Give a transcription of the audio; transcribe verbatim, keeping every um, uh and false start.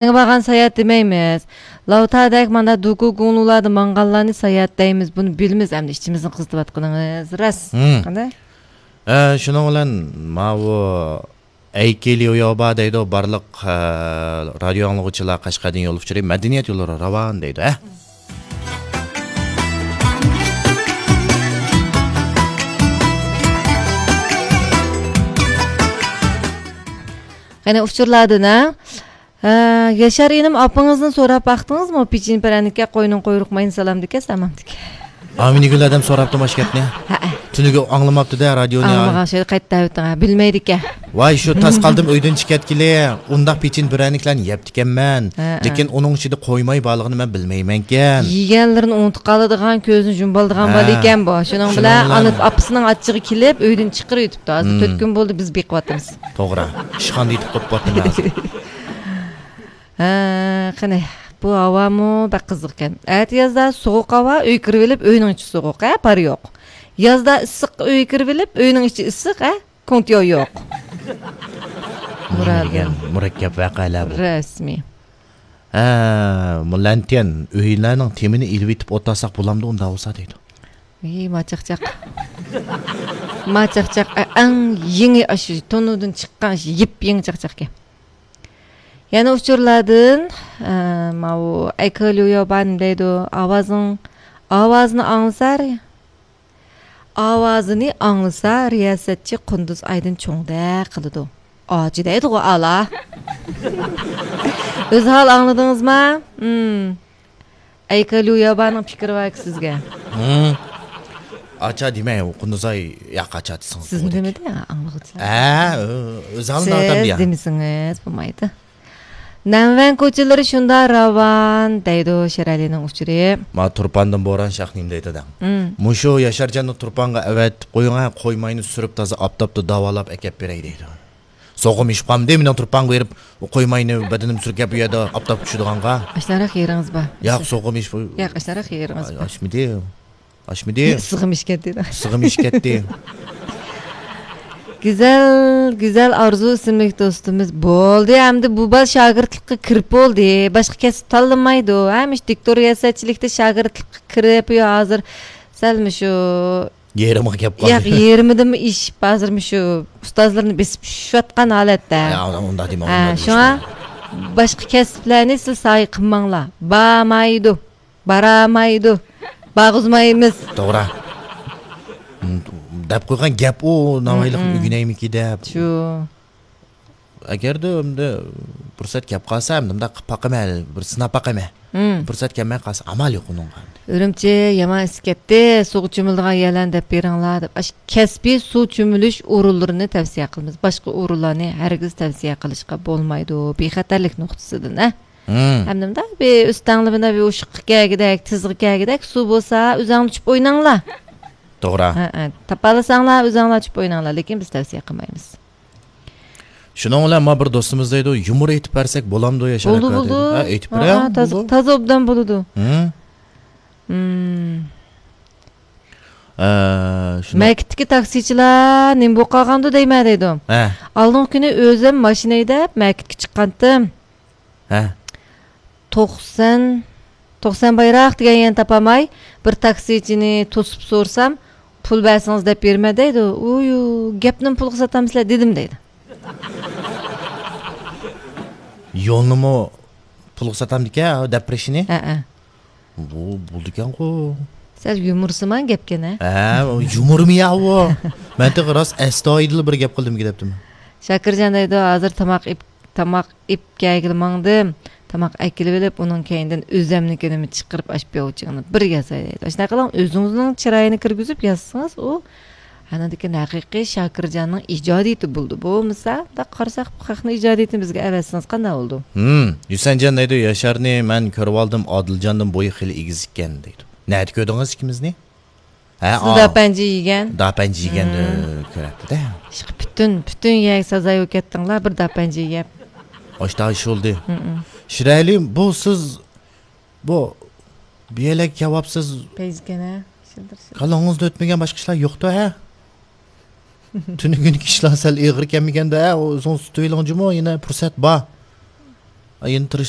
بارغان ساياھەت دېمەيمىز. لاۋتادەك مانا دوكۇ گۇڭلۇلاردا ماڭغانلارنى ساياھەت دەيمىز. بۇنى بىلىمىز ئەمدى ئىچىمىزنى قىزىتىۋاتقىنىڭىز راست. ھىم. قانداق؟ ئە، شۇنىڭ بىلەن ماۋۇ ئەيكېليۇيوبا دەيدۇ، بارلىق، ئە، رادىيو ئاڭلىغۇچىلار قەشقەردىن يول ئۇچۇرى مەدەنىيەت يوللىرى راۋان دەيدۇ، ھە؟ قېنى ئۇچۇرلاردىن، ھە؟ ھە، ياشار ئىنىم، ئاپىڭىزدىن سوراپ باقتىڭىزمۇ؟ پېچىنە پىرەنىككە قوينىڭ قۇيرۇق مايىنى سالامدىكەن، سالامدىكەن. ئامىنىگۈل ئادەم سوراپتۇ ماشكەتنى. ھەئە. تۈنۈگۈن ئاڭلىماپتۇ-دە رادىيونى. ئاڭلىمىغان شەيدە قايتا دەۋېتىڭ، ھە، بىلمەيدىكەن. ۋاي، شۇ تاس قالدىم ئۆيدىن چىقىۋەتكىلى، ئۇنداق پېچىنە پىرەنىكلەرنى يەپتىكەنمەن. ھەئە. لېكىن ئۇنىڭ ئىچىدە قوي مايى بارلىقىنى مەن بىلمەيمەنكەن. يېگەنلىرىنى ئۇنتۇپ قالىدىغان، كۆزىنى يۇمۇۋالىدىغان بالا ئىكەن بۇ. شۇنىڭ بىلەن ئاپىسىنىڭ ئاچچىقى كېلىپ، ئۆيدىن چىقىرىۋېتىپتۇ. ھازىر تۆت كۈن بولدى، بىز بېقىۋاتىمىز. توغرا. ئىشخانىدا يېتىپ قوپۇپتىمەن ھازىر. ھە، قېنى، بۇ ھاۋامۇ بەك قىزىق ئىكەن. ئەتىيازدا سوغۇق ھاۋا، ئۆيگە كىرىۋېلىپ، ئۆينىڭ ئىچى سوغۇق، ھە، پارى يوق. يازدا ئىسسىق، ئۆيگە كىرىۋېلىپ، ئۆينىڭ ئىچى ئىسسىق، ھە، كوڭتيو يوق. نېمە دېگەن مۇرەككەپ ۋەقەلەر بۇ. رەسمىي. ھە، مۇلەنتىيەن، ئۆيلەرنىڭ تېمىنى ئېلىۋېتىپ ئولتۇرساق بولامدۇ ئۇنداق بولسا دەيدۇ. ۋىي، ما چاقچاق. ما چاقچاق، ئە، ئەڭ يېڭى ئاشۇ تونۇردىن چىققان يېپيېڭى چاقچاقكەن. يەنە ئۇچۇرلاردىن، ئە، ماۋۇ ئەيكېليۇيوبا نېمە دەيدۇ؟ ئاۋازىڭ، ئاۋازىنى ئاڭلىسا، ئاۋازىنى ئاڭلىسا، رىياسەتچى قۇندۇز ئايدىن چوڭدەك قىلىدۇ. ئاچا دەيدىغۇ ئالا. ئۆزھال ئاڭلىدىڭىزما؟ ھىم. ئەيكېليۇيوبانىڭ پىكرى باركى سىزگە؟ ھىم. ئاچا دېمەي، ئۇ قۇندۇزئاي ياق ئاچا دېسىڭىز سىزنى بولىدۇ. دېمىدى، ئاڭلىغۇچىلار. ھە، ئۆ-، ئۆزى ئالدىن ئاچام سىز دېيە. دېمىسىڭىز بولمايدۇ. نەنۋەن كوچىلىرى شۇنداق راۋان، دەيدۇ شېرئەلىنىڭ ئۇچۇرى. ما تۇرپاندىن بوران شاھ نېمە دەيدۇ دەڭ. ھىم. مۇشۇ ياشارجاننى تۇرپانغا ئەۋەتىپ قويۇڭ ھە، قوي ماينى سۈرۈپ تازا ئاپتاپتا داۋالاپ ئەكەپ بېرەي دەيدۇ. سوغۇم ئېشىپ قالمىدى، مېنىڭ تۇرپانغا بېرىپ، قوي ماينى بەدىنىمنى سۈركەپ، ئۇ يەردە ئاپتاپ چۈشىدىغانغا. ئاشۇنداق يېرىڭىز بار. ياق، سوغۇم ئېشىپ. ياق، ئاشۇنداق يېرىڭىز بار. ئاشمىدى. ئاشمىدى. ئىسسىغىم ئېشىپ كەتتى. ئىسسىغىم ئېشىپ كەتتى. گۈزەل، گۈزەل ئارزۇ ئىسىملىك دوستىمىز، بولدى، ئەمدى بۇ بالا شاگىرتلىققا كىرىپ بولدى. باشقا كەسىپ تاللىمايدۇ. ھەمىشە دىكتور رىياسەتچىلىكتە شاگىرتلىققا كىرىپ، يا ھازىر سەل مۇشۇ يېرىمغا كەپ قالدى. ياق، يېرىمىدىنمۇ ئېشىپ، ھازىر مۇشۇ ئۇستازلىرىنى بېسىپ چۈشۈۋاتقان ھالەتتە. يا، ئۇنداق دېمەڭ، ھە، ئۇنداق شۇڭا دېمەڭ. باشقا كەسىپلەرنى سىز سايە قىلماڭلار. بارمايدۇ، بارالمايدۇ، بارغۇزمايمىز. توغرا. دەپ قويغان گەپ ئۇ، ناۋايلىقنى ئۆگىنەيمىكى دەپ. شۇ. ئەگەردە ئەمدى پۇرسەت كەپ قالسا، ئەمدى مۇنداق قىلىپ باقىمەن، بىر سىناپ باقىمەن. مم. پۇرسەت كەلمەي قالسا، ئامال يوق ئۇنىڭغا. ئۈرۈمچى يامان ئىسسىپ كەتتى، سۇغا چۆمۈلىدىغان يەرلەرنى دەپ بېرىڭلار دەپ، ئاشۇ كەسپىي سۇ چۆمۈلۈش ئورۇنلىرىنى تەۋسىيە قىلىمىز. باشقا ئورۇنلارنى ھەرگىز تەۋسىيە قىلىشقا بولمايدۇ، بىخەتەرلىك نۇقتىسىدىن، ھە؟ مم. ھەمدە مۇنداق بىر ئۈستەڭلىمىدە بىر ئۇششۇققا كەلگۈدەك، تىزغا كەلگۈدەك سۇ بولسا، ئۆزەڭلار چۈشۈپ ئويناڭلار. توغرا. ھە، ھە. تاپالىساڭلار، ئۆزەڭلار چۈشۈپ ئويناڭلار، لېكىن بىز تەۋسىيە قىلمايمىز. شۇنىڭ بىلەن ما بىر دوستىمىز دەيدۇ، يۇمۇر ئېيتىپ بەرسەك بولامدۇ، ياشار ئاكا؟ بولىدۇ، بولىدۇ. ھە، ئېيتىپ بېرە، ھە، تازا، بولىدۇ. تازا ئوبدان بولىدۇ. ھىم. ھىم. ئە، شۇنداق. مەكىتتىكى تاكسىچىلار نېمە بولۇپ قالغاندۇ دەيمەن دەيدۇ. ھە. ئالدىنقى كۈنى ئۆزۈم ماشىنا ھەيدەپ مەكىتكە چىققانتىم. ھە. توقسان، توقسان بايراق دېگەن يەرنى تاپالماي، بىر تاكسىچىنى توسۇپ سورىسام، پۇل بەرسىڭىز دەپ بېرىمەن دەيدۇ. ئۇيۇ، گەپنىمۇ پۇلغا ساتامسىلەر دېدىم دەيدۇ. يولنىمۇ پۇلغا ساتامدىكەن، دەپ بېرىشىنى؟ ھەئە. بۇ بولىدىكەنغۇ. سەل يۇمۇرسىمان گەپكەن ھە؟ ھە، يۇمۇرمۇ يا ئۇ. مەن تېخى راست ئەستايىدىل بىر گەپ قىلدىمكى دەپتىمەن. شاكىرجان دەيدۇ، ھازىر تاماق ئېپ-، تاماق ئېپ كەلگىلى ماڭدىم. تاماق ئەكېلىۋېلىپ، ئۇنىڭ كەينىدىن ئۆزەمنىڭكىنىمۇ چىقىرىپ، ئاشۇ پىياۋچىڭنى بىر ياساي دەيدۇ. ئاشۇنداق قىلىڭ، ئۆزىڭىزنىڭ چىرايىنى كىرگۈزۈپ ياسىسىڭىز، ئۇ ئانىڭدىن كېيىن ھەقىقىي شاكىرجاننىڭ ئىجادىيىتى بولىدۇ. بولمىسا، مۇنداق قارىساق، بۇ خەقنىڭ ئىجادىيىتىنى بىزگە ئەۋەتسىڭىز قانداق بولىدۇ؟ ھىم، ھۈسەنجان دەيدۇ، ياشارنى مەن كۆرۈۋالدىم، ئادىلجاندىن بويى خېلى ئېگىز ئىكەن دەيدۇ. نەدە كۆردىڭىز ئىككىمىزنى؟ ھە، سىز داپەنجە يېگەن. داپەنجە يېگەندە كۆرەتتى-دە. ئىشقىلىپ پۈتۈن، پۈتۈن يەرگە سازاي بولۇپ كەتتىڭلار، بىر داپەنجە يەپ. ئاشتا ئىش بولدى. شىرئەلى، بۇ سىز، بۇ، بۇ يەرلەرگە كەۋاپسىز. پەيزىكەن ھە، شىلدىر، شىلدىر. كاللىڭىزدا ئۆتمىگەن باشقا ئىشلار يوقتۇ ھە؟ تۈنۈگۈنكى ئىشلار سەل ئېغىر كەلمىگەندۇ ھە؟ ئۇ ئۆزىڭىز تۇتۇۋېلىڭ جۇمۇ، يەنە پۇرسەت بار. ئايلىنىپ تۇرۇش